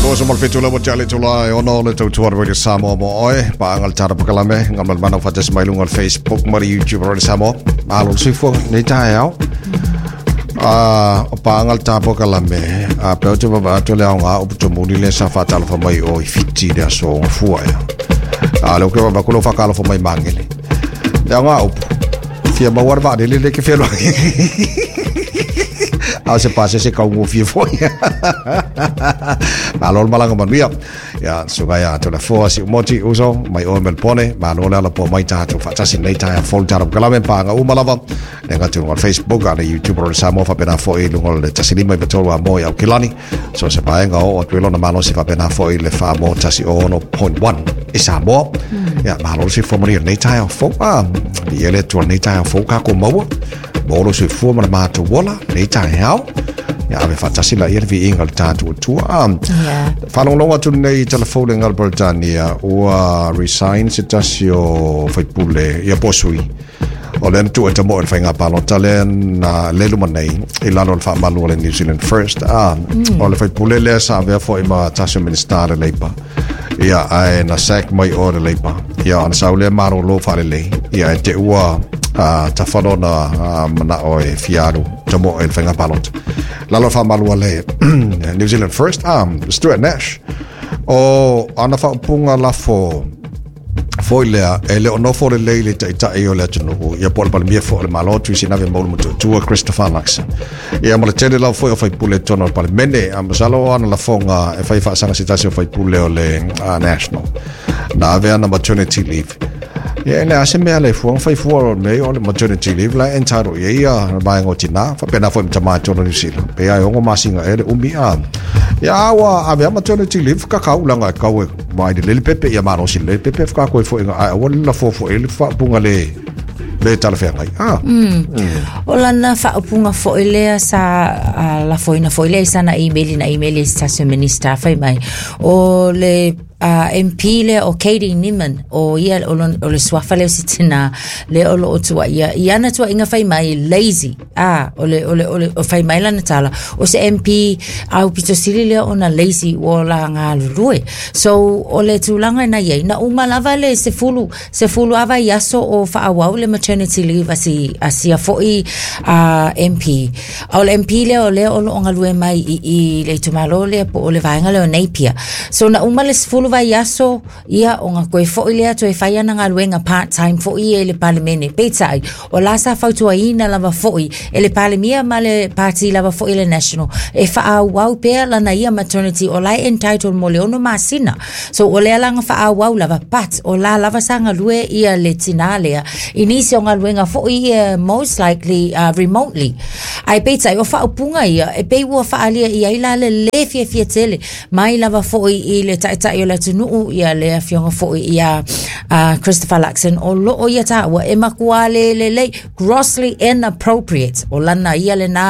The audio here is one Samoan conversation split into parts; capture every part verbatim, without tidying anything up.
Oso mo le fitu le wa tale tula e ono le tautua Radio Samoa mo oe paanga le tara pakalame ngam le mana fatas mai lunga le Facebook ma le YouTube Radio Samoa. Malo le soifua nei taeao. A o paanga le tara pakalame a pe o te vava atu le aoga o putomuli le sa faatalofa mai o i Fiti le aso gafua ea. A le o ke vava kulo whakalofa mai mangele. Le aoga upu. Fia maua le vaalele le ke feloai. A se pase se kaungo fia foi. Malo le malaga manuia. Ia suga ia atu le foa si umoti uso mai o Melbourne. Malo le ala po mai tātou whaatasi nei taia fol tara kalame pānga uma lava. Le ngatu lunga Facebook a le YouTube o le Samoa whapena foi lunga le tasilima i patolu a moi au kilani. So se paenga o o tuelona malo si whapena foi le wha mo tasi ono point one i Samoa. Ia malo si fomari nei taia fo. Ah, i ele tua nei taia fo kako maua. Molo se fua ma le mātou wola, nei tae hao. Ia ave whaatasi la ia le vi inga le tātou tua. Yeah. Whanongongo atu nei telefone ngā Britania ua resign se tasi o whaipule ia posui. O lena tua te mo e whainga palota le na lelu manei i lalo le whaamalu o le New Zealand First. Ah, mm. O le whaipule lea sa avea fo i ma tasi o ministare leipa. Ia ae na sack mai o le leipa. Ia ana sau lea maro lo whare lei. Ia e te ua uh, tawhanona uh, mana o e fiaru te mo e whainga palota. Lalo whaamalu le New Zealand First, um, Stuart Nash. O ana whaupunga lafo foi lea, e le onofo le lei le taitai o le atunuu, ia po le palemia fo le malo tui sinave maulu matuatua Christopher Luxon. Ia mo le tele lau foi o faipule tonu o le palemene, a masalo o ana lafoga e fai faasaga se tasi o faipule o le uh, National. Na ave ana maternity leave. Ia le ase mea le fuanga fai fua o mei o le maternity leave la entitled ia ia vaenga o tinā, faapena foi ma tamā tonu New Zealand. Pe ai ongo masinga e le umi a. Ia ua ave a maternity leave ka kaulanga e kau e mai le lele pepe ia malosi le pepe whakako e fo inga ai aua le lafo fo e le whaapunga le le talawheangai. Ah. Mm. Mm. O lana whaapunga fo e lea sa uh, lafoina fo e lea sana email na email e stasio minister whai mai. O le Uh, M P le o Katie Niman o ia o, o le suafa le o sitina le o lo o tua ia i ana tua inga whai mai lazy ah o le o le o le o whai mai lana tala o se M P au pito sili le o na lazy o la ngā lulue so o le tūlanga na ia na uma lava le se fulu se fulu ava i aso o whaawau le maternity leave asi asia foi uh, M P o le M P le o le o lo o ngalue mai i, i le tumalo le po o le vaenga le o Napier so na uma le se fulu vai aso ia o ngā koe foi lea toe whai ana ngā luenga part-time foi e le palemene. Peitai, o la sa fautua ina lava foi e le palemia ma le party lava foi le national. E whaawau pea lana ia maternity o lai entitled mo le ono masina. So o lea langa whaawau lava pat o la lava sa ngā lue ia le tina lea. Inisi o ngā luenga foi ia most likely uh, remotely. Ai peitai, o whaupunga ia e pei ua whaalia ia ila le le fia fia tele mai lava foi i le taitai o le atunuu ia le afioga foi ia uh, Christopher Luxon o loo ia tāua e makua le le le grossly inappropriate o lana ia le nā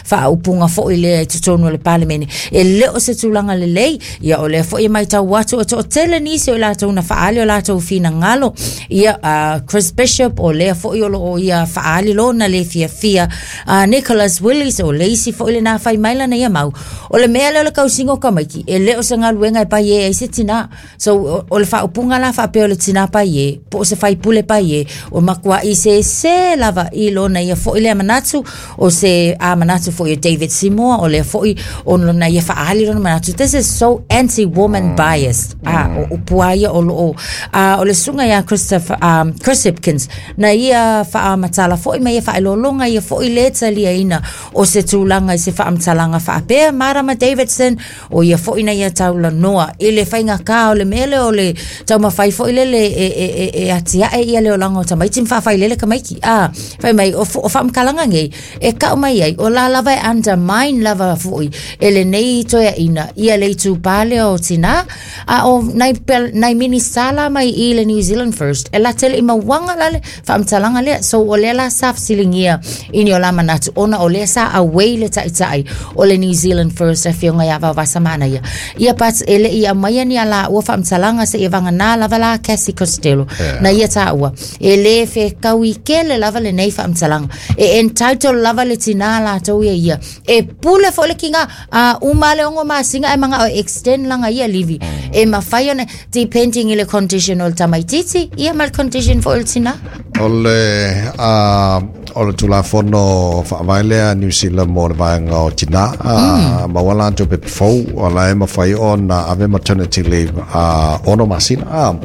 whaaupunga foi le tutonu le palemene e leo se tūlanga le lei ia o le foi mai tau atu o to tele nisi o lātou na whaali o lātou fina ngalo ia uh, Chris Bishop o lea foi o loo ia whaali lona le fia fia uh, Nicholas Willis o leisi foi le nā whai maila na ia mau o le mea leo le kausingo kamaiki e leo se ngaluenga e pai e ai se tina. So o, o le whaupunga la whaapea o le tina pai e, po o se whaipule pai e, o makua i se se lava i lona ia foi lea manatu, o se a manatu foi o David Seymour, o lea foi o lona ia whaali lona manatu. This is so anti-woman mm. biased. Mm. Ah, o, o puaia o lo o, ah, o le sunga ia Christopher, um, Chris Hipkins, na ia whaamatala foi ma ia whaelolonga ia foi le talia ina o se tūlanga i se whaamatalaga whaapea Marama Davidson, o ia foi na ia taula noa, i le whainga ka o le mele o le taumafai foi lele e e e e atiae ia le olaga o tamaiti ma faafai lele kamaiki a fai mai o o faamkalaga nei e kau mai ai o la lava e undermine lava foi e lenei toeaina ia le itupā lea o tinā a o nai nai minisala mai i le New Zealand First e la tele i mauaga lale faamatalaga lea so o lea la sa fesiligia i ni o la manatu ona o lea sa away le taʻitaʻi o le New Zealand First afioga ia Vaovasamanaia ia but e leʻi aumaia ni ala taua faamatalaga seia vaganā lava la Cassie Costello na ia taua e lē fekaui kele lava lenei faamatalaga e entitle lava le tinā latou ia ia e pule foʻi le kiga a uma le ogo masina e magao e extend laga ia livi e mafai ona depending i le condition o le tamaititi ia ma le condition foʻi o le tinā. O le uh, o le tulafono faavae lea New Zealand mo le vaega o tinā mm. maua latou pepe fou o la e mafai ona ave maternity leave uh, ono masina uh.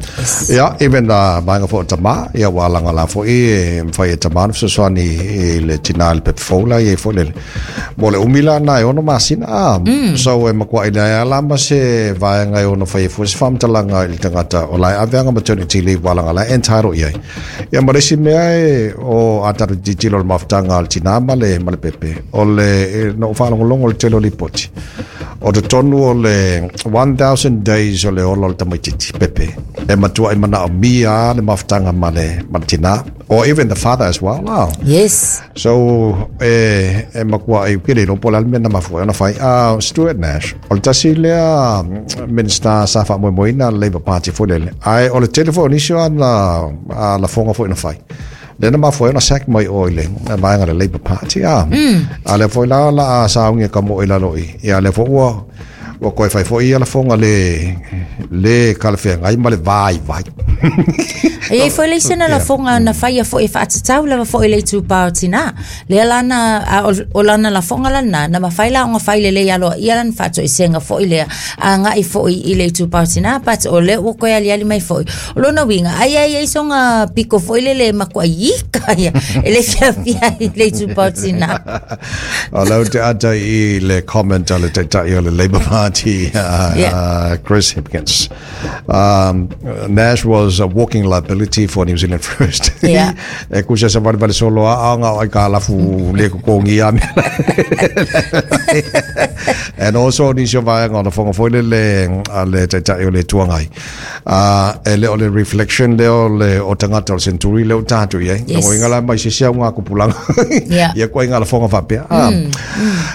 Ia even uh, vaega foʻi o tamā ia ua alaga la foʻi e mafai e tamā ona fesoasoani i le tinā i le pepe fou la iai foʻi lele mo le umi lana e ono masina uh. mm. So e makuaʻi leai la ma se vaega e ono fai e fua se faamatalaga i le tagata o la e aveaga maternity leave ua alaga la e entitle i ai ia ma le isi mea e o a tatou tilotilo o le mafutaga a le tinā ma le ma le pepe o le e, na ou faalogologo le tele o lipoti o totonu o le one thousand days o le ola o le tamaititi pepe e matua i manaomia le mafutaga ma le ma le tinā or even the father as well la. Yes. So e e makua e kele lo po la mea na mafua ona fai uh, Stuart Nash o le tasi lea minister sa faamoemoeina le Labour Party foi lele ai o le tele foi o nisi o ana a lafoga foi na fai lea na mafua ai ona sack mai o i le vaega le Labour Party a mm. a lea foi la la a saugi ka mo i lalo i ia lea foi ua ua koe fai foi ia lafoga le le kalafeagai ma le vai vai. E iai foi le isi na lafoga na faia foʻi e faatatau lava foʻi le itupā o tinā lea lana a, o, o lana lafoga lana na mafai la ona fai lelei aloaia lana faatoesega foʻi lea agaʻi foʻi i le itupā o tinā, but o lea ua koe aliali mai foʻi o lona uiga ai ai ai soga piko foʻi lele makuai ika ia e le fiafia i le itupā o tinā. O lau te ata i le comment a le taitai o le Labour Party, uh, Yeah. uh, Chris Hipkins. Um, Nash was a walking liability for New Zealand First. Yeah. E kusa sa vale vale solo a anga o ai ka lafu le kokongi a mea. And also nisi o vaega o na fonga foi le le a le taitai o le tuangai. Uh, e le o le reflection le o le o tangata o le century le o tātou i ai. Yes. No inga la mai se sia ngā kupulanga. Yeah. Ia koe ngā la fonga whapea. Ah.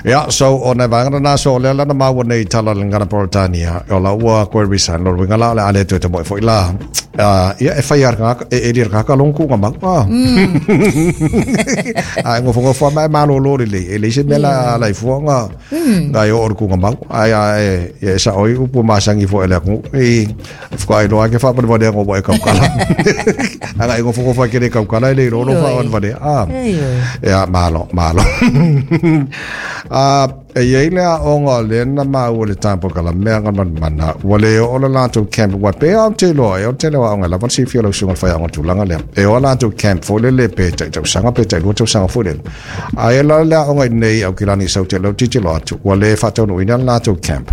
Yeah, so o na vaega na so le la na maua nei tala le ngana Politania. O la ua koe resign lo winga la le ale tu te mo foi la. Uh, ia e whai ar ngā, e e ri ngā ka longu ngā mau. Ah. Ai ngo fonga fua mai malo lo le e le se mela la i fua ngā ngā i o ku ngā mau. Ai ai e sa oi upu masangi fo ele ku. I whaka i loa ke wha pani ngo mo e kaukala. Anga i ngo fonga fua kere kaukala i le ro ro wha Oi. wale. Ah. Ai, oi. Ia, malo, malo. Ah, e iai le aoga o lea na maua le tapo kala mea nga manamana ua le oo le latou camp ua pe ao te loa e o tele o aoga e lava le silafia o lau susuga le faiaoga tulaga lea e o a latou camp foi lele pe taʻitausaga pe taʻilua tausaga foi lele ae la le aoga i au kilani sau te lau titilo atu ua le faataunuuina le latou camp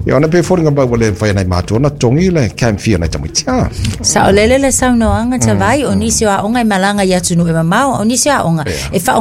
ia ona pe foliga mai ua le mafai ai matua ona togi le camp fee nai tamaiti a. Saʻolele le saunoaga tavai o nisi o aoga e malaga i atunuu e mamao o nisi o aoga e